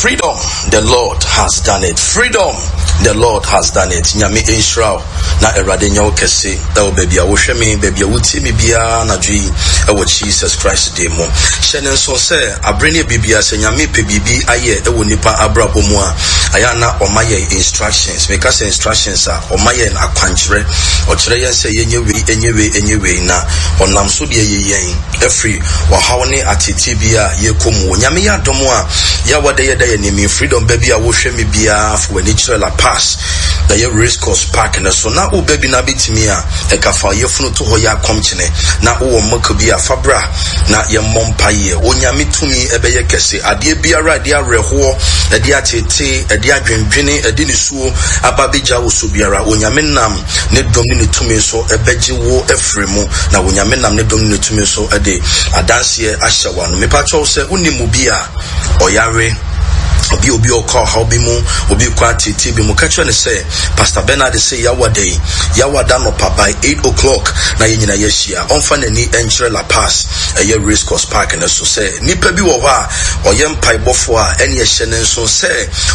Freedom, the Lord has done it. Freedom, the Lord has done it. Nyame nhyira wo na Awurade nyɛ wo kɛse ɛwɔ baabi a wohwɛ me, baabi a wotie me biara anadwo yi ɛwɔ Jesus Christ din mu. Hyɛ ne nso sɛ abere ne biribiara sɛ Nyame pɛ biribi ayɛ ɛwɔ nipa abrabɔ mu a, ayɛ a na ɔma yɛn instructions. Meka sɛ instructions a, ɔma yɛn akwankyerɛ. Ɔkyerɛ yɛn sɛ yɛnyɛ wei, ɛnyɛ wei, ɛnyɛ wei na ɔnam so deɛ yɛ yɛn afiri ɔhaw ne ateetee bi a yɛkɔ mu. Onyame yɛ adom a, Yawa dɛ yɛda yɛn anim freedom ba bi a wohwɛ me biara fa w'ani kyerɛ La Paz ɛyɛ race course park no so na woba bi na bɛtumi a ɛka fa yɛfunu to hɔ yɛ akɔmkyene na wowɔ mmɔka bi a fa bra na yɛmmɔ mpaeɛ. Onyame tumi ɛbɛyɛ kɛse. Adeɛ biara ɛde awerɛhoɔ, ɛde ateetee, ɛde adwendwene, ɛde nisuo aba bɛgya wo so biara, Onyame nam ne dom ne ne tumi so ɛbɛgye wo afiri mu, na Onyame nam ne dom ne ne tumi so de adanseɛ ahyɛ w'ano. Mepa kyɛw sɛ wonim obi a ɔyare, obi obi ɔkɔ ɔhaw bi mu, obi kɔ ateetee bi mu, ka kyerɛ no sɛ Pastor Bernard sɛ Yawada yi, Yawada nɔpa by 8 o'clock na yɛn nyinaa yɛahyia. Ɔmfa n'ani nkyerɛ La Paz, ɛyɛ Race Course Park no so. Sɛ nipa bi wɔ hɔ a ɔyɛ mpaebɔfoɔ a, ɛne ɛhyɛ ne nso sɛ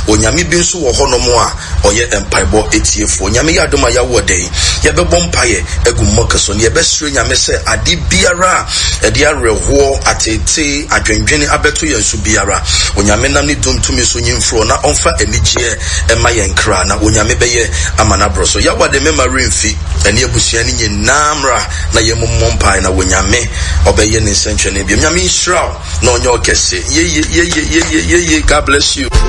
Onyame bi nso wɔ hɔnom a ɔyɛ mpaebɔ tiefoɔ. Nyame yɛ adom a yɛawo ɔda yi, yɛbɛbɔ mpaeɛ agu mmɔka so, na yɛbɛsrɛ Nyame sɛ ade biara a ɛde awerɛhoɔ, ateetee, adwendwene abɛto yɛn so biara, Onyame nam ne dom tumi so nyi mfiri hɔ na ɔmfa anigyeɛ mma yɛn kra, na Onyame bɛyɛ ama no aborɔ so. Yawa de mɛma werɛ mfi ɛne abusua no nyinaa mmra na yɛmmɔ mpaeɛ na Onyame ɔbɛyɛ ne nsɛnkyerɛnne biom. Nyame nhyira wo na ɔnyɛ wo kɛse. Yeye, yeye, yeye, yeye. God bless you.